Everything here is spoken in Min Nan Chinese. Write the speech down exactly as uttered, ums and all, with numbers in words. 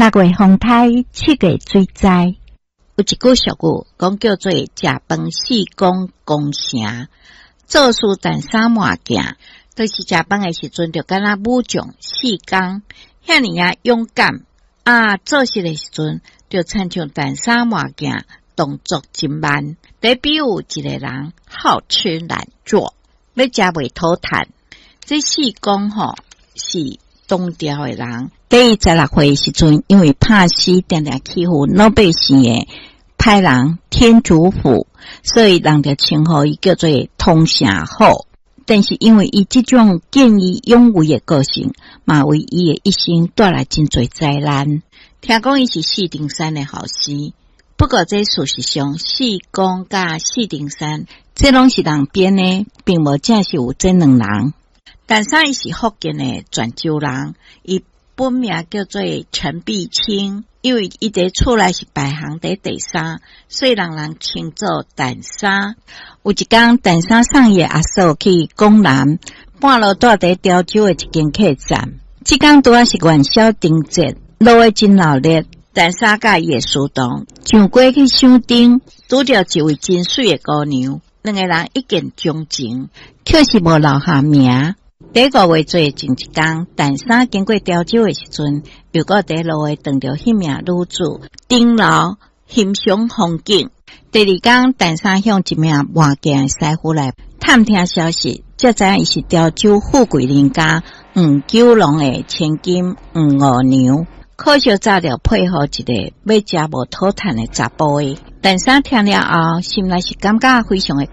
六月風颱，七月水災。有一句俗語講叫做“食飯四公攻城，做事陳三換鏡”，就是食飯的時陣，就敢若武將四公遐爾仔勇敢啊！做事的時陣，就親像陳三換鏡，動作真慢。得比喻一個人好吃懶做，欲食袂討趁。這四公吼是唐朝的人，佇伊十六歲時陣，因為拍死定定欺負老百姓的歹人天主府，所以人就稱呼伊叫做通城虎。但是因為伊這種見義勇為的個性，嘛為伊的一生帶來真濟災難。聽講伊是四重山的後生，不過這事實上，四公佮四重山，這攏是人編的，並無正是有這兩人。陳三伊是福建的泉州人，伊本名叫做陳碧清，因為伊佇厝內是排行佇第三，所以人人稱做陳三。有一工，陳三送伊的阿嫂去廣南，半路蹛佇潮州的一間客棧。這工拄仔是元宵燈節，落雨真鬧熱。陳三佮伊的書童上街去賞燈，拄著一位真媠的姑娘，兩个人一見鍾情，卻是無留下名。佇五月做前一工，陳三經過潮州的時陣，又閣佇路下撞著彼名女子，頂樓欣賞風景。第二工，陳三向一名賣鏡的師傅來探聽消息，才知影伊是潮州富貴人家黃九龍的千金黃五娘。可惜早著配予一个欲食無討趁的查埔的。陳三聽了後，心內是感覺非常的